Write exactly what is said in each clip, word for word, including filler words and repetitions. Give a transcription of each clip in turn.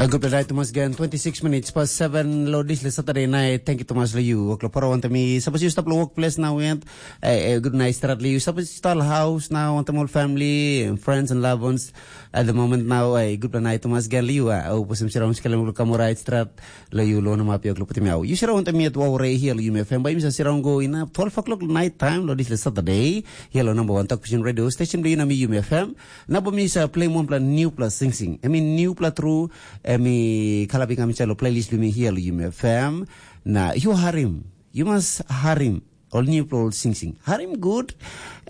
A gutpela nait tumas gen, twenty-six minutes past seven lo dispela Saturday night. Thank you tumas lo you. Waklo poro wantam mi, sapos you stap lo workplace now and eh, eh, good night start lo you. Sapos you start house now, wantam all family and friends and loved ones at the moment now, eh, gutpela nait tumas gen lo you. Ah, oh, pusim sira uns kalem lo kamu right start lo you lo nama pia lo putim yau. You sira wantam mi at Waure here lo you F M. By mi sa sira go in twelve o'clock night time lo dispela Saturday. Here lo number one talk vision radio station lo you na mi you F M. Na bo mi sa play one pla new pla sing sing. I mean new pla true. Emi kalapi kami chalo playlist bimi here lo Yume F M. Na you harim. You must harim. All new pla all sing sing. Harim good.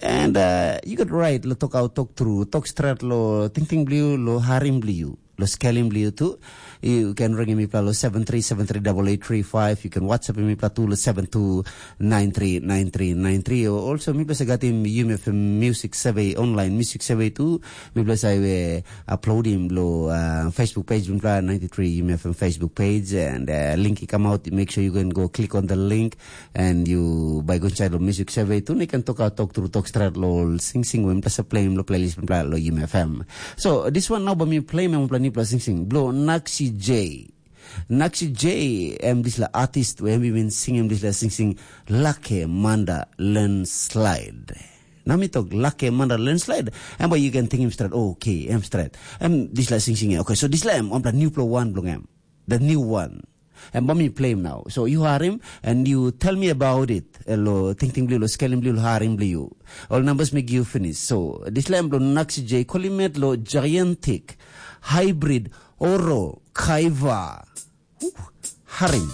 And uh, you got right. Lo talk out, talk through. Talk straight lo ting ting blue, lo harim blue. Lo scaling blue too. You can ring me pla lo seven three seven three double eight three five. You can WhatsApp me pla too lo seven two nine three nine three nine three. Also, mi pla sa gatim Yume F M music survey online. Music survey too. Mi pla sa we upload him lo uh, Facebook page, mi pla ninety-three Yume F M Facebook page, and uh, link it come out. Make sure you can go click on the link, and you by go inside the music survey too. You can talk out, talk through, talk straight lo sing sing. We mi pla sa play him lo playlist mi pla lo Yume F M. So this one now, but me play me pla ni pla sing sing. Blo Naxi J. Naxi J, em disla artist, we em bin sing em disla sing sing, Lake Manda Landslide. Na mi tok Lake Manda Landslide, em ba you can think him straight. Oh, okay, em straight. Em disla sing sing. Okay, so disla em ompla new pla one bilong em. The new one. Em ba mi play him now. So you hear him and you tell me about it. Lo ting ting blue, lo scaling blue, lo harim blue. All numbers make you finish. So disla em lo Naxi J, Kolimet lo Gigantic, Hybrid, Oro, Kaiva. Harim.